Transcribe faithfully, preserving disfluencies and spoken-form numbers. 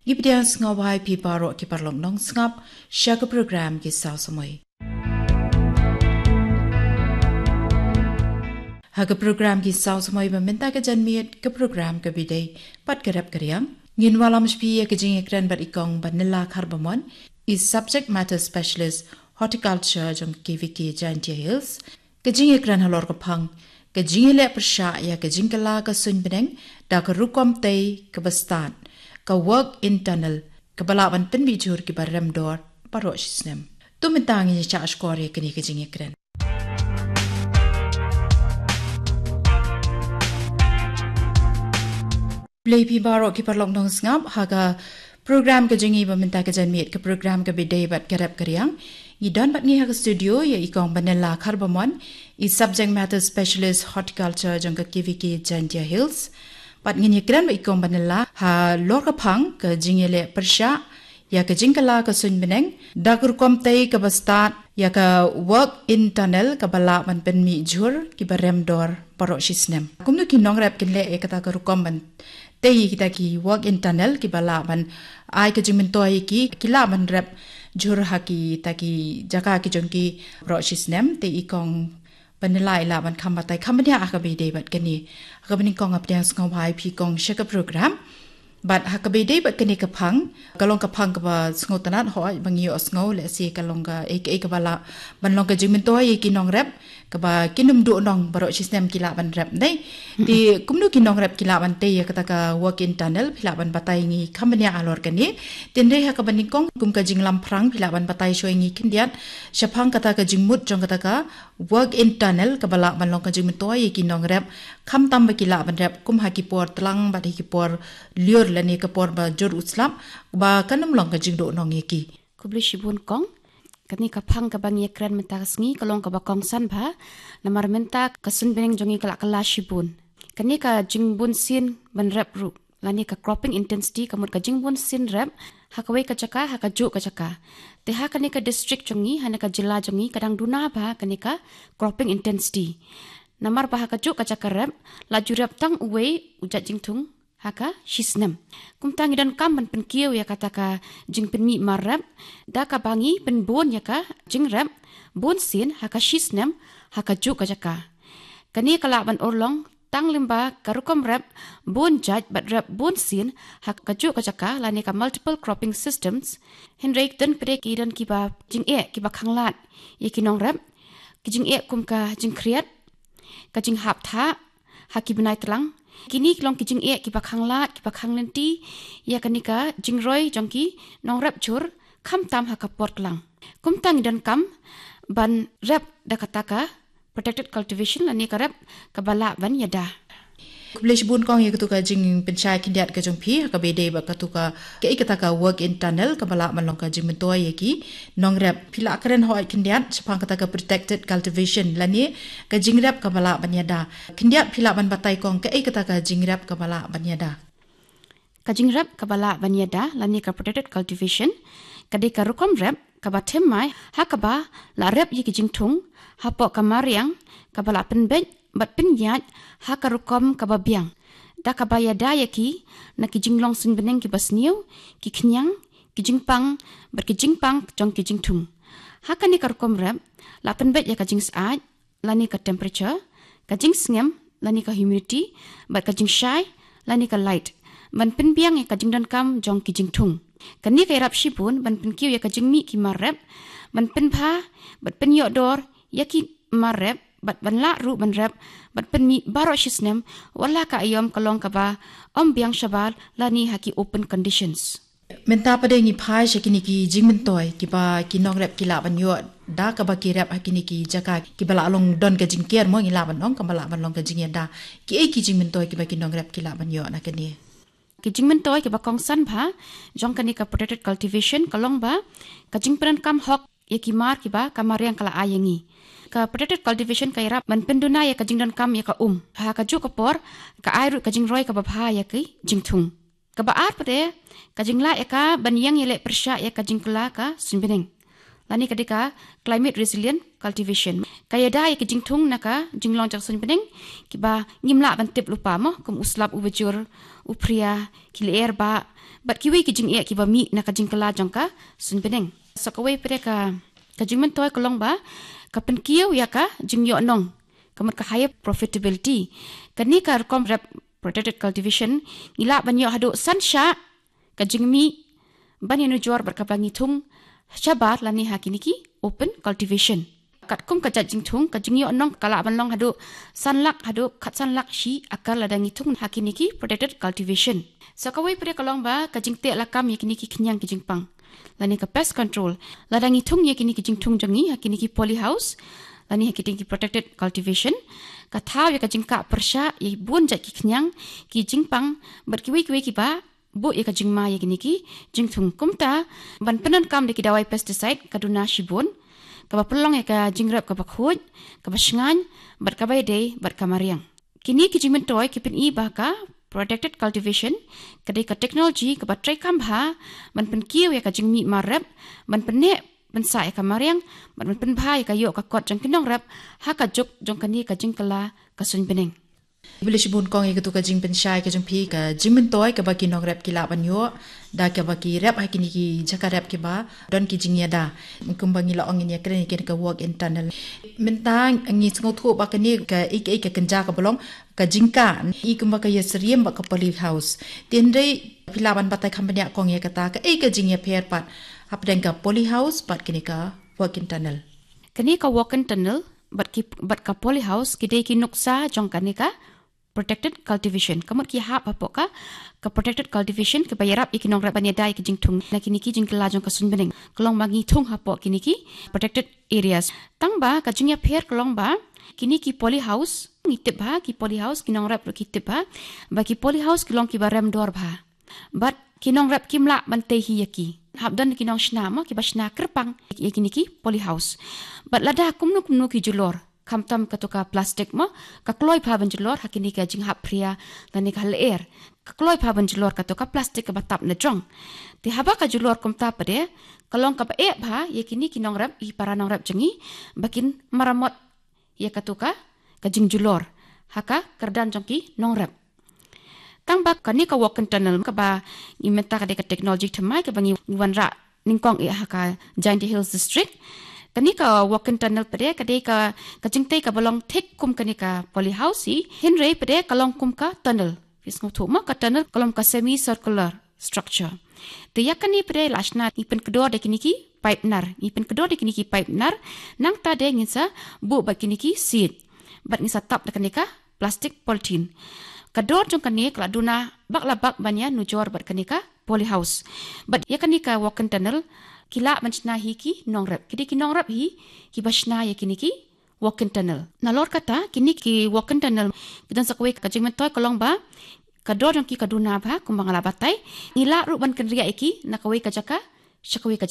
Ngi pdiang sngewbha ïa phi baroh ki paralok nongsngap sha ka program Ki Saw Samoi. Ha ka program Ki Saw Samoi ba mynta ka janmiet, ka program kaba ïadei bad ka rep ka riang, ngin wallam sha phi ïa ka jingïakren bad i Kong Banila Kharbamon, i subject matter specialist horticulture jong K V K Jaintia Hills. Ka jingïakren halor ka phang ka jingïaleh pyrshah ïa ka jingkylla ka suiñ bneng da ka rukom tei kaba stad, ka walk-in tunnel, kaba lah ban pynmih jhur kiba rem dor baroh shi snem. To mynta ngin ïa shah shkor ïa kane ka jingïakren. Khublei phi baroh ki paralok nongsngap ha ka program ka jong ngi ba mynta ka janmiet, ka program kaba ïadei bad ka rep ka riang. Ngi don bad ngi ha ka studio ïa i Kong Banila Kharbamon, i subject matter specialist horticulture jong ka K V K Jaintia Hills. Bad ngin ïakren bad i Kong Banila halor ka phang ka jingïaleh pyrshah ïa ka jingkylla ka suiñ bneng da ka rukom tei kaba stad, ïa ka walk-in tunnel, kaba lah ban pynmih jhur kiba rem dor baroh shi snem. Kumno ki nongrep kin leh ïa kata ka rukom ban tei ïa kita ki walk-in tunnel kiba lah ban ai ka jingmyntoi ïa ki, ki lah ban rep jhur ha kita ki jaka ki jong ki baroh shi snem. Te i Kong Banila i lah ban kham batai kham bniah ha kaba ïadei bad kane. Ha kaba nyngkong nga pdiang sngewbha ïa phi Kong sha ka program. Bad ha kaba ïadei bad kane ka phang, ka long ka phang kaba sngewtynnat hooid ba ngi ïohsngew lehse ka long kaei kaei kaba lah ban long ka jingmyntoi ïa ki nongrep kaba kin ym duh nong baroh shi snem ki lah ban rep, dei. Te kumno ki nongrep ki lah ban tei ïa kata ka walk-in tunnel, phi lah ban batai ngi kham bniah halor kane. Te hynrei ha kaba nyngkong kum ka jinglamphrang phi lah ban batai shuwa ïa ngi khyndiat shaphang kata ka jingmut jong kata ka walk-in tunnel kaba lah ban long ka jingmyntoi ïa ki nongrep, khamtam ba ki lah ban rep kum ha ki por tlang bad ha ki por lyiur lane ka por ba jur u slap, ba kan ym long ka jingduh nong ïa ki. Khublei shibun Kong. Kane ka phang kaba ngi ïakren mynta ka sngi ka long kaba kongsan bha, namar mynta ka suiñ bneng jong ngi ka la kylla shibun. Kane ka jingbun sien ban rep ruh, lane ka cropping intensity, ka mut ka jingbun sien rep ha kawei ka jaka ha kajuh ka jaka. Te ha kane ka district jong ngi, ha kane ka jylla jong ngi, ka dang duna bha kane ka cropping intensity. Namar ba ha kajuh ka jaka rep la ju rep tang uwei u jait jingthung ha ka shi snem. Kumta ngi donkam ban pynkiew ïa kata ka jingpynmih mar rep da kaba ngi pynbun ïa ka jingrep bun sien ha ka shi snem ha kajuh ka jaka. Kane ka lah ban urlong tang lyngba ka rukom rep bun jait bad rep bun sien ha kajuh ka jaka lane ka multiple cropping systems. Hynrei don pat de ki don kiba jingeh kiba khanglad ïa ki nongrep, ki jingeh kum ka jingkhriat, ka jinghap thah ha ki bnai tlang. Kine ki long ki jingeh kiba khanglad kiba khanglynti ïa kane ka jingroi jong ki nongrep jhur khamtam ha ka por tlang. Kumta ngi donkam ban rep da kata ka protected cultivation lane ka rep kaba lah ban ïada. Khublei shibun Kong ïa katu ka jingpynshai khyndiat ka jong phi ha kaba ïadei bad katu ka, kaei kata ka walk-in tunnel kaba lah ban long ka jingmyntoi ïa ki nongrep. Phi lah kren hooid khyndiat shaphang kata ka protected cultivation lane ka jingrep kaba lah ban ïada. Khyndiat phi lah ban batai Kong kaei kata ka jingrep kaba lah ban ïada. Ka jingrep kaba lah ban ïada lane ka protected cultivation ka dei ka rukom rep kaba thymmai ha kaba la rep ïa ki jingthung hapoh ka mariang kaba la pynbeit bad pynïaid ha ka rukom kaba biang, da kaba ïada ïa ki na ki jinglong suiñ bneng kiba sniew, ki khñiang, ki jingpang bad ki jingpang jong ki jingthung. Ha kane ka rukom rep la pynbeit ïa ka jingsyaid lane ka temperature, ka jingsngem lane ka humidity, bad ka jingshai lane ka light, ban pynbiang ïa ka jingdonkam jong ki jingthung. Kane ka ïarap shibun ban pynkiew ïa ka jingmih ki mar rep, ban pynbha bad pynïoh dor ïa ki mar rep, bad ban lah ruh ban rep bad pynmih baroh shi snem, wat la ka aïom ka long kaba ym biang shabar lane ha ki open conditions. Mynta pat de ngi phai sha kine ki jingmyntoi kiba ki nongrep ki lah ban ïoh da kaba ki rep ha kine ki jaka kiba lah long don ka jingker mo, ngi lah ban ong kaba lah ban long ka jingïada. Kiei ki jingmyntoi kiba ki nongrep ki lah ban ïoh na kane? Ki jingmyntoi kiba kongsan bha jong kane ka protected cultivation ka long ba ka jingpyndonkam hok ïa ki mar kiba ka mariang ka la ai ïa ngi. Ka protected cultivation ka ïarap ban pynduna ïa ka jingdonkam ïa ka um ha kajuh ka por, ka ai ruh ka jingroi kaba bha ïa ki jingthung. Kaba ar pat de, ka jinglah ïa ka ban ïeng ïaleh pyrshah ïa ka jingkylla ka suiñ bneng, lane ka dei ka climate resilient cultivation. Ka ïada ïa ka jingthung na ka jinglong jong ka suiñ bneng kiba ngim lah ban tip lypa mo, kum u slap uba jur, u phria, ki lyer ba, bad kiwei ki jingeh kiba mih na ka jingkylla jong ka suiñbneng. Sa kawei pat de ka, ka jingmyntoi ka long ba ka pynkiew ïa ka jingïoh nong, ka mut ka higher profitability. Kane ka rukom rep protected cultivation ngi lah ban ïoh haduh san shah ka jingmih ban ïanujor bad kaba ngi thung shabar lane ha kine ki open cultivation. Katkum ka jait jingthung, ka jingïoh nong ka lah ban long haduh san lak haduh khatsan lak shi akar lada ngi thung ha kine ki protected cultivation. Sa kawei pat de ka long ba ka jingteh lakam ïa kine ki khñiang ki jingpang, lane ka pest control. Lada ngi thung ïa kine ki jingthung jong ngi ha kine ki polyhouse lane ha kine ki protected cultivation, ka thaw ïa ka jingkah pyrshah ïa bun jait ki khñiang ki jingpang bad kiwei kiwei kiba buh ïa ka jingma ïa kine ki jingthung. Kumta ban pyndonkam da ki dawai pesticide ka duna shibun, kaba pynlong ïa ka jingrep kaba khuid, kaba shngaiñ, bad kaba ïadei bad ka mariang. Kine ki jingmyntoi ki pyni ba ka protected cultivation ka dei ka technology kaba treikam bha ban pynkiew ïa ka jingmih mar rep, ban pynneh pynsah ïa ka mariang, bad ban pynbha ïa ka ïoh ka kot jong ki nongrep ha ka juk jong kane ka jingkylla ka suiñbneng. Khublei shibun kong ïa katu ka jingpynshai ka jong phi, ka jingmyntoi kaba ki nongrep ki lah ban ïoh da kaba ki rep ha kine ki jaka rep kiba don ki jingïada, kumba ngi la ong ïa kane ka walk-in tunnel. Mynta ngi sngewthuh ba kane ka, ïa ka, ïa ka kynja kaba long ka jingkah, ïa kumba ka ïasyriem bad ka polyhouse. Te hynrei phi lah ban batai kham bniah kong ïa kata, kaei ka jingïapher pat hapdeng ka polyhouse bad kane ka walk-in tunnel? Kane ka walk-in tunnel bad ki, bad ka polyhouse ki dei ki nuksa jong kane ka protected cultivation. Ka mut ki hap hapoh ka, ka protected cultivation kaba ïarap ïa ki nongrep ban ïada ïa ki jingthung na kine ki jingkylla jong ka suiñbneng. Ka long ba ngi thung hapoh kine ki protected areas. Tang ba ka jingïapher ka long ba kine ki polyhouse, ngi tip bha, ki polyhouse, ki nongrep ruh ki tip bha ba ki polyhouse ki long kiba rem dor bha. Bad ki nongrep kim lah ban tei hi ïa ki. Hap don ki nongshna mo, kiba shna kyrpang ïa kine ki polyhouse. Bad lada kumno kumno ki julor, khamtam katu ka plastik mo, ka kloi bha ban julor ha kine ka jinghap phria lane ka lyer. Ka kloi bha ban julor katu ka plastik kaba tap na jrong. Te haba ka julor kumta pat de, ka long kaba eh bha ïa kine ki nongrep, ki para nongrep jong ngi, ba kin maramot ïa katu ka, ka jingjulor ha ka kyrdan jong ki nongrep. Tang ba kane ka walk-in tunnel kaba ngi mynta ka dei ka technology thymmai kaba ngi, ngi wanrah nyngkong eh ha ka Jaintia Hills District. Kane ka walk-in tunnel pat de ka dei ka, ka jingtei kaba long thik kum kane ka polyhouse hi, hynrei pat de ka long kum ka tunnel. Phi sngewthuh mo, ka tunnel ka long ka semi circular structure. Te ïa kane pat de la shna ngi pynkdor da kine ki pipe nar, ngi pynkdor da kine ki pipe nar, nangta de ngin sa buh bad kine ki siej. Bad ngin sa tap da kane ka plastik polythene. Ka dor jong kane ka la duna bak la bak ban ïanujor bad kane ka polyhouse. Bad ïa kane ka walk-in tunnel ki lah ban shna hi ki nongrep. Ki dei ki nongrep hi kiba shna ïa kine ki walk-in tunnel. Nalor kata, kine ki walk-in tunnel ki don sa kawei ka jingmyntoi ka long ba ka dor jong ki ka duna bha kumba nga la batai. Ngi lah ruh ban kynriah ïa ki na kawei ka jaka sha kawei ka